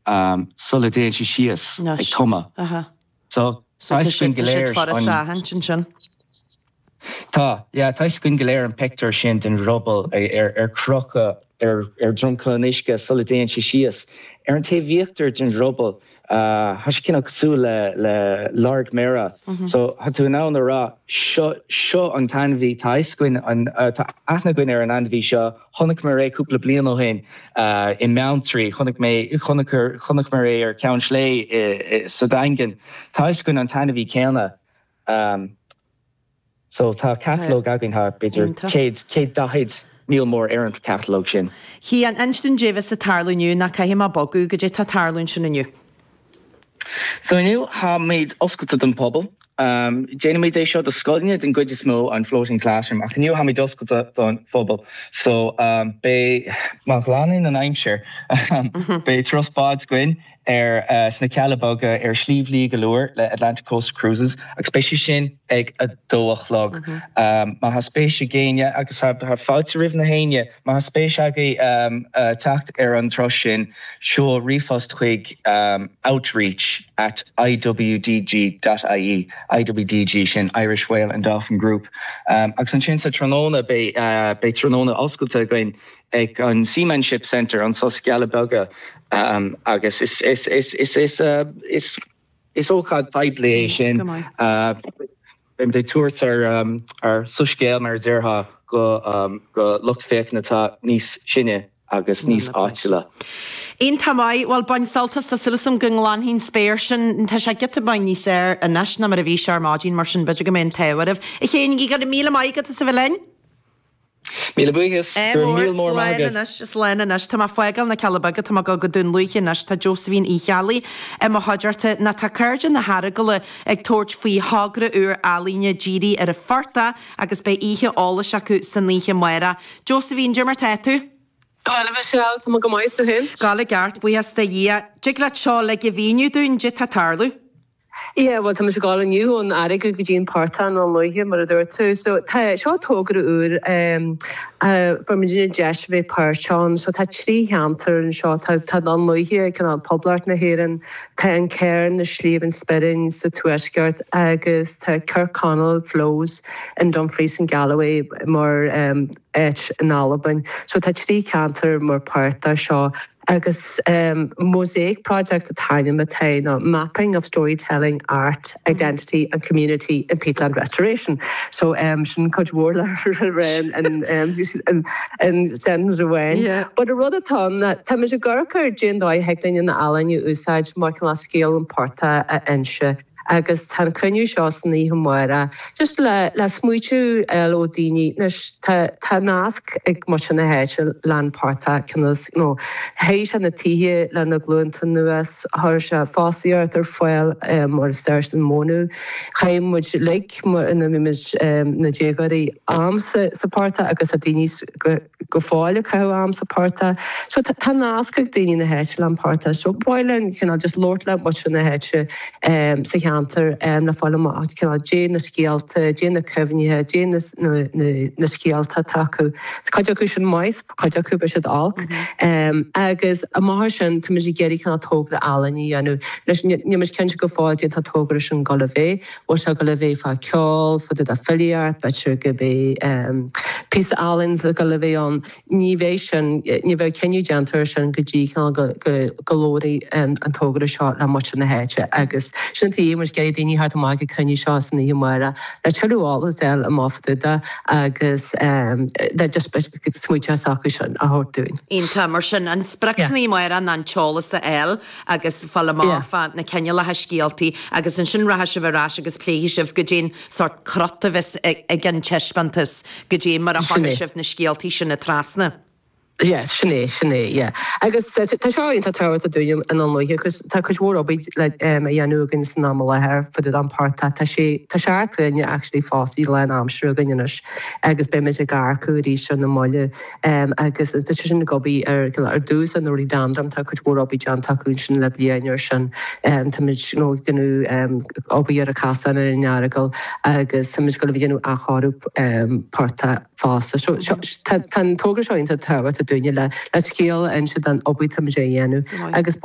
sula dtéann sé síos ag tumadh. So tá fhios againn go léir an. ansin. Tá, yeah, tá fhios againn go léir an pictiúr sin den dhruball ar crochadh ar dromchla an uisce sula dtéann sé síos. Ar an taobh íochtar den druball, tá sé cineál cosúil le le lorg méire. So tá tú in ann a rá, seo, seo an t-ainmhí, tá fhios againn an, tá aithne againn ar an ainmhí seo, Chonaiceamar é cúpla bliain ó shin i mBeanntraí, chonaic mé, chonaiceamar é ar Cheann Sléibhe sa Daingean. Tá fhios againn an t-ainmhí céanna. So tá catalóg againn, tá b'fhéidir 100, 140, níl mór ar an catalóg sin. Cian, inis dúinn caidé bheas ag tarlú inniu, nó caithfidh mé bogadh, goidé tá ag tarlú ansin inniu. So inniu táimid oscailte don phobal. Déanaimid é seo do scoileanna den gcuid is mó, an Floating Classroom, ach inniu táimid oscailte don phobal. So beidh, má ghlanann an aimsir, beidh turas báid againn ar sna Cealla Beaga ar Shliabh Liag Allure le Atlantic Coast Cruises agus beidh sé sin ag a dó a chlog. Má tá spéis ag éinne, agus tá fáilte roimh na héinne, Má tá spéis agaibh teacht ar an turas sin, seol ríomhphost chuig outreach at iwdg dot ie, IWDG sin Irish Whale and Dolphin Group. Agus ansin sa tráthnóna beidh beidh tráthnóna oscailte againn ag an Seamanship Centre anso sna Cealla Beaga agus is is is is is is is ócáid phoiblí é sin. Beimid ag tabhairt ár soiscéal, mar a déarfá, go lucht féachana atá níos sine agus níos áitiúla. Iontach maith. Bhuel, bain sult as. Tá súil agam go nglanfaidh an spéir sin. Tá sé giota beag níos fearr anois ná mar a bhí sé ar maidin, mar sin b'fhéidir go mbeidh an t-ádh oraibh. A Chéin, go raibh míle maith agat as a bheith linn. Míle buíochas. Go raibh míle mór maith agat. Slán anois, slán anois. Tá mé ag fágáil na Cealla Beaga, tá mé ag dul go Dún Lúiche anois, tá Josephine Uí Cheallaigh i mo chuideachta. Nó tá Cairde na hEaragala ag tabhairt faoi thogra úr ealaíne dírithe ar an phortach agus beidh oíche eolais acu san oíche amárach. Josephine, cad é mar tá tú? Bhuel, a Mhichelle, tá mé go maith, is tú féin? Ag gabháil i gceart, buíochas do Dhia. Dtig leat seo uilig a mhíniú dúinn, caidé tá ag tarlú? Yeah, bhuel, tá muid ag dul inniu ón Earagail go dtí an portach i nDún Lúiche, mar a dúirt tú. So, tá, seo togra úr, fuair muidinne deis a bheith páirteach ann. So, tá 3 cheantar anseo, tá, tá Dún Lúiche, cineál Poblacht na hÉireann, tá an Cairn i Sliabh an Spuirinn sa Tuaisceart agus tá Kirkconnel Flows in Dumfries and Galloway mar áit in Albain. So, tá 3 cheantar mar páirt de seo. Agus Mosaic Project an t-ainm atá air, nó Mapping of Storytelling, Art, Identity and Community in Peatland Restoration. So sin cuid mhór le rá in sentence amháin. But an rud atá ann ná táimid ag amharc ar cén dóigh a thig linn an ealaín a úsáid mar cineál scéal an phortaigh a inse. Agus tá an cruinniú seo san oíche amárach just le le smaoitiú a fháil ó daoine. Anois tá tá nasc ag muintir na háite leis an portach cineál you know théigh sé na tithe le na glúnta anuas, chuir sé fostaíocht ar fáil mar is deir an mónadh. Chaith muid uilig mar ina bhí muid na déagóirí am sa sa portach agus tá daoine go go fóill ag caitheamh am sa portach. So tá nasc ag daoine na háite le an portach. So ba mhaith linn cineál just labhairt le muintir na háite sa cheantar le fáil amach cineál caidé na scéalta, caidé na cuimhnithe, caidé na scéalta atá acu. Tá cuid acu sin maith, cuid acu beidh siad olc. Agus amach as sin táimid ag iarraidh cineál togra ealaíne a dhéanamh. Anois níl muid cinnte go fóill caidé tá an togra sin ag dul a bheith. Bhfuil sé ag dul a bheith fá ceol, fá dtaobh de filíocht, b'fhéidir go mbeidh píosa ealaíne ag dul a bheith ann. Ní bheidh sin, ní bheidh cinneadh déanta ar sin go dtí cineál go go labhróidh an togra seo le muintir na háite agus sin an tuige muid ag iarraidh daoine a theacht amach ag an cruinniú seo san oíche amárach le tuilleadh eolas a fháil amach fá dtaobh de agus le just smaointe s'acu sin a thabhairt dúinn. Iontach. Mar sin, an sprioc san oíche amárach ná an t-eolas a fháil agus fáil amach fá na cineálacha scéaltaí agus ansin rachaidh sibh ar ais agus pléifidh sibh goidé'n sórt crot a bheas ag an taispeántas, goidé mar a chuirfidh sibh na scéaltaí sin trasna. Yeah, sin é, sin é, yeah. Agus tá seo iontach tábhachtach dúinn i nDún Lúiche agus tá cuid mhór obair le a dhéanamh againn san am i láthair fá dtaobh den phortach. Tá sé, tá seacht nduine actually fostaithe lán aimsire againn anois agus beimid ag earcú arís ar na mallaibh. Agus tá sé sin ag obair ar ar dtús ar na rudaí Dundrum, tá cuid mhór obair déanta acu ansin le bliain ar sin. Táimid you know ag déanamh obair ar an chasán ar an Earagail agus táimid ag dul a bheith ag déanamh athchóiriú portaigh fosta. So tá an togra seo iontach tábhachtach dúinne le le scéal a inse den obair táimid a dhéanamh agus.